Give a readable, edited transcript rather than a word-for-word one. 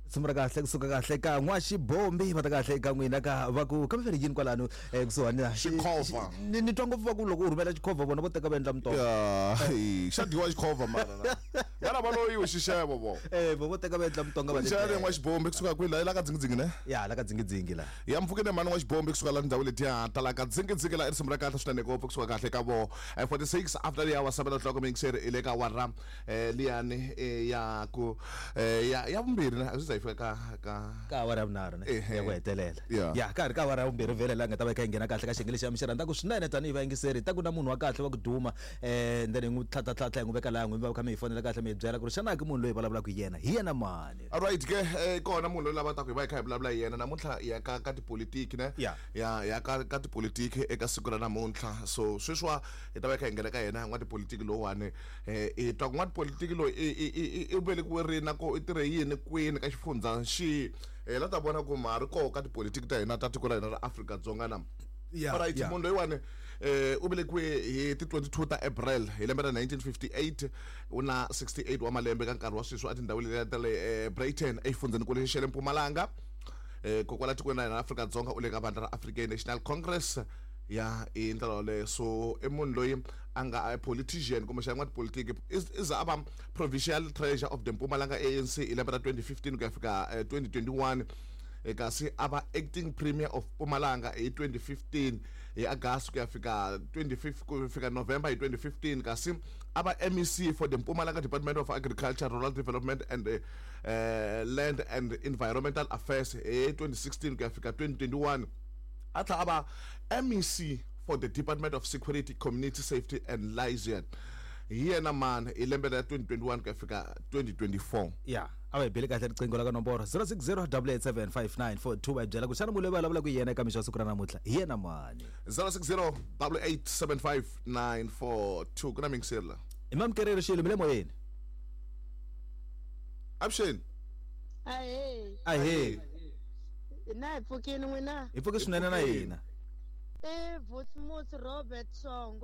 Risimu ra kahle kusuka kahle ka N'waxibombi va ta kahle eka n'wina ka va ku kambe veri yini kwalano kusuhani na Xikhovha. Ni twa ngopfu va ku loko u rhumela xikhovha vona vo teka va endla mutoho. Ya, xa dyiwa xikhovha mara na. Vana va loyiwe xixevo vo. Vo teka va endla mutonga va Njhani N'waxibombi kusuka kwihi la la ka dzingidzingi ne? Ya la ka dzingidzingi la. Ya mpfukeni mhani N'waxibombi kusuka la ndhawu letiya ta la ka dzingidzingi la i risimu ra kahle swinene ngopfu kusuka kahle ka vo 46 after the hour 7 o'clock mixer i le ka awara liyani ya ku ya ya vumbirhi na swi za yi fika ka ka ka awara ya vunharhu ne Ehe. ya ku hetelela Yeah. ya ka ha ri ka awara ya vumbirhi vhele laha nga ta va yi kha yi nghena kahle ka xiyenge lexi mi xi rhandzaka swinene tanihi vayingiseri ta ku na munhu wa kahle wa ku duma then hi n'wi tlhatlhatlhatlha hi n'wi veka laha n'wi va kha mi hi fonela kahle mi hi byela ku ri xana ki munhu loyi vulavulaka hi yena hi yena mani. Alright ke kona munhu loyi lava taku hi va hi kha hi vulavula hi yena namuntlha ya ka ka tipolitiki ne Yeah. ya ya ka ka tipolitiki eka siku ra namuntlha so sweswiwa hi ta va hi kha hi nghena ka yena n'watipolitiki lowuwani hi twa ku n'watipolitiki loyi i velekiwe rini na ko i tirhe yini kwini ka xifundza xihi hi la ta vona ku ma ri koho ka tipolitiki ta hina ta tiko ra hina ra Afrika-Dzonga na. Yeah, Alright yeah. munhu loyiwani u velekiwe hi ti 22 ta April hi lembe ra 1958 u na 68 wa malembe ka nkarhi wa sweswi etindhawini letiya ta le Breyten exifundzhenikulu xa le Mpumalanga kokwala tikweni ra hina ra Afrika-Dzonga u le ka vandla ra African National Congress ya hi ndlela yoleyo so i munhu loyi a nga politician kumbexana n'watipolitiki i za a va provincial treasurer of the Mpumalanga ANC hi lembe ra 2015 ku ya fika 2021 kasi a va acting premier of Mpumalanga hi 2015 hi August ku ya fika 25 ku fika November hi 2015 kasi a va MEC for the Mpumalanga Department of Agriculture, Rural Development and Land and Environmental Affairs hi 2016 ku ya fika 2021 a tlhela a va MEC for the Department of Security, Community Safety and Liaison hi yena mani hi lembe ra 2021 ku ya fika 2024. Ya a va hi beli kahle riqingho ra ka nomboro 060 887 5942 va hi byela ku xana munhu loyi va vulavulaka hi yena eka mixo wa siku ra namuntlha hi yena mani. 060 887 5942 ku na miyingiseri la. Hi mamukereri xilo mi le moyeni. Avuxeni. Ahee. Ahee. Hina hi pfukile n'wina. Hi pfuke swinene na hina. I Vusimusi Robert Shongwe.